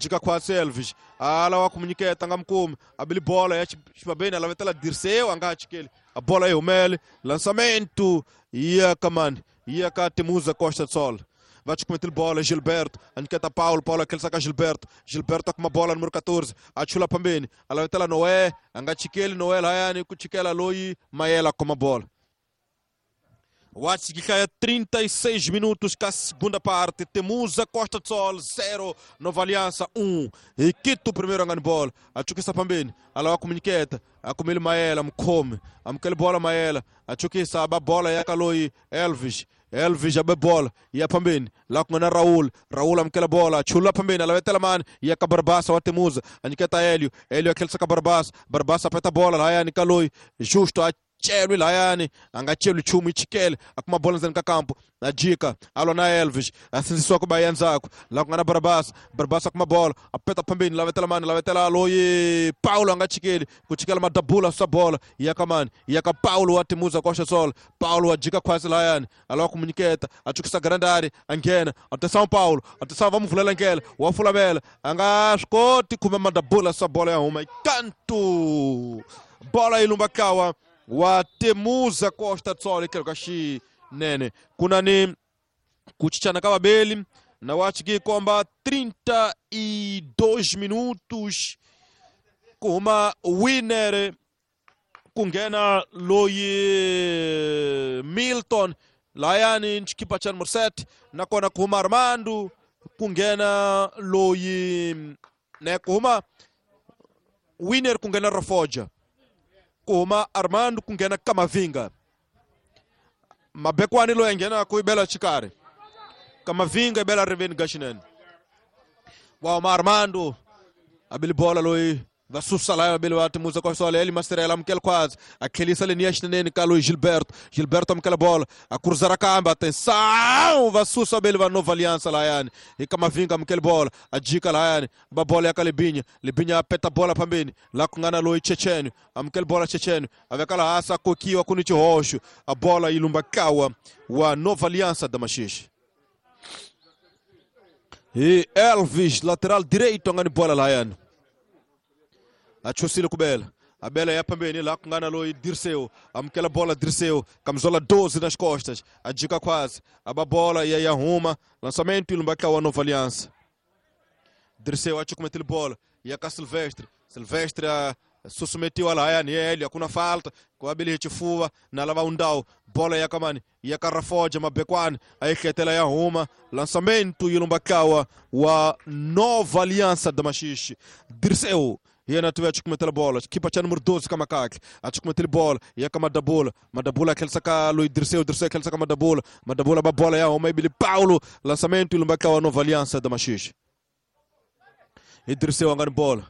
jika khwatsi Elvis ala wa kumunyiketa nga mukumi abili bola ya xibabeni alavetela Dirceu a nga ha chikeli a bola yi humele lançamento ya kamani ya ka Temuza Costa Sol va chukumetile bola Gilberto a nyiketa Paulo, Paulo a ka Gilberto, Gilberto a kuma bola número 14 a chula phambeni alavetela Noé a nga chikeli Noé lahayani ku chikela loyi Mayela a khoma bola. Watsikikaya 36 minutos com a segunda parte. Temuza Costa do Sol 0, Nova Aliança 1. E Quito primeiro angani bola. Achukisa pambeni. Alawa kumunyiketa. Akumele Maela mkhome. Amkele bola Maela. Achukisa aba bola yakaloi Elvis. Elvis abe bola ya pambeni la kungana Raul, Raul amkela bola chula pambeni alavetela mani ya Kabarbasa wa Temuza anyiketa Helio, Helio akhelisa Kabarbasa, Barbasa apeta bola lahayani kaloi Justo chelwi lahayani anga chelwi chumu ichikele akuma bola ndzeni ka kampo ajika alwa na Elvis asinzisiwa ku baya ndzhaku la ku nga na Barabasa, Barabasa akuma bola apeta phambeni lavetela mani lavetela loyi Paulo anga chikeli ku chikela madabula swa bola ya ka mani ya ka Paulo wa Temuza Costa Sol. Paulo ajika khwasi lahayani alawa ku munyiketa achukisa grandari a nghena atenção Paulo, atenção va mu vulela ndlela wa fulavela a nga swi koti khumbe madabula swa bola ya huma kantu bola yi lumba kawa wa Temuza Costa Sol kelo ka xinene kuna ni ku cincana ka vabeli na wachi komba 32 minutos ku huma winner ku nghena loyi Milton layani xikipa cha numero 7 nakona ku huma Armando ku nghena loyi ne ku huma winner ku nghena Rafoja ku huma Armando ku nghena Kamavinga mabekwani loyi a nghenaka i bela xikarhi Kamavinga i bela riveni ga xinene wa huma Armando abili bola loyi va susa laya vabeli va Temuza Costa Sol Eli Masterela amukela khwazi a tlhelisa leniya xineneni ka loyi Gilberto, Gilberto amukela bola a cruzara kambe atenção va susa vabeli va Nova Aliança lahayani hi Kamavinga amukela bola a jika lahayani ba bola ya ka Libinya, Libinya apeta bola phambeni la ku nga na loyi Checheno amukela bola Checheno a veka laha a kokiwa ku ni xihoxo a bola yi lumba kawa wa Nova Aliança da Maxixe. Hi Elvis lateral direito a nga ni bola lahayani achusile kubela abela ya pambeni la ku nga na loyi Dirceu amukela bola Dirceu camisola 12 nas costas ajika quase aba bola ya ya huma lançamento e lumba wa Nova Aliança. Dirceu achukumetile bola ya ka Silvestre, Silvestre susumetiwa lahayani yele hakuna falta kwa abili chifuva na lava undao bola ya kamani ya Karafoja mabekwani ayihletela ya huma lançamento e lumba kawa wa Nova Aliança da Maxixe. Dirceu yena tuve achukumetela bola kipa cha número 12 kama kake achukumetela bola ya kama Madabula, Madabula akhelisa ka loyi Dirceu, Dirceu akhelisa ka Madabula, Madabula ba bola ya huma ibili Paulo lançamento e lumba kawa Nova Aliança da Maxixe. Dirceu angani bola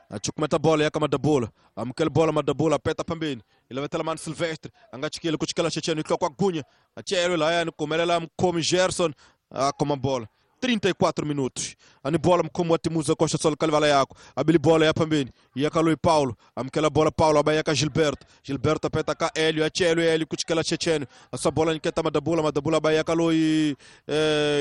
achukumeta bola ya kama Madabula amukela bola Madabula apeta phambeni ilavetela mani Silvestre anga chikile ku chikela Checheno ihlokwa gunya achelwe lahayani kumelela mkhomi Gerson akhoma bola 34 minutos ani bola mkhomi wa Temuza Costa Sol kalivala yako abili bola ya phambeni ya ka loyi Paulo amukela bola Paulo abaya ka Gilberto, Gilberto apeta ka Helio achelwe Helio ku chikela Checheno asa bola nyiketa Madabula, Madabula abaya ka loyi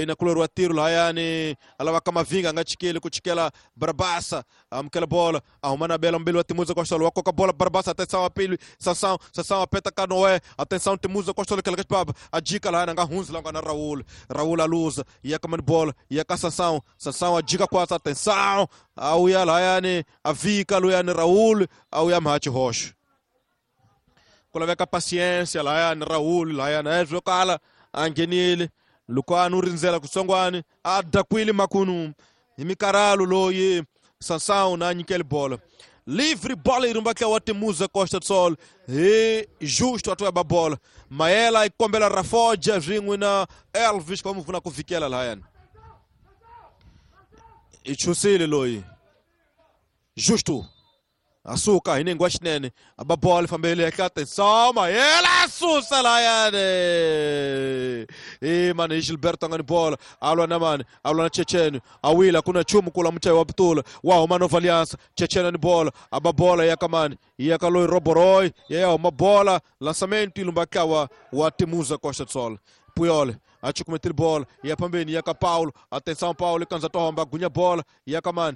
inakuleriwa tiro lahayani alava ka Mavinga anga chikele ku chikela Barbasa amukela bola ahuma na bela mbili wa Temuza Costa Sol wa koka bola Barbasa atenção apili Sansão, Sansão apeta ka Noé atenção Temuza Costa Sol kela baba ajika lahayani anga hunzi la na Raul, Raul aluza ya kamani bola ya ka Sansão, Sansão ajika kwasa atenção auya lahayani avika luyani Raul auya mhachi hoxo ku laveka paciência lahayani Raul lahayani a kala a nghenile loko a nu rindzela kutsongwani a dakwile makunu hi mikarhalo loyi Sansão na nyikeli bola livre bola irumba ka wa Temuza Costa Sol hi justo atwa ba bola Maela yi kombela Rafoja swin'we na Elvis va mu pfuna ku vikela lahayani i chusile loyi Justo asuka hi nenge wa xinene aba bola fambele ehenhla atenção Maela susa lahayani i mani hi Gilberto a nga ni bola alwa na mani alwa na Checheno awila kuna chumu kula muchayi wa putula wa huma Nova Aliança Checheno ni bola aba bola ya ka mani ya ka loyi Roboroy ya huma bola lançamento ilumba kawa wa Temuza Costa Sol Puyol achukumetile bola ya pambeni ya ka Paulo atenção Paulo ikanza tohomba gunya bola ya ka mani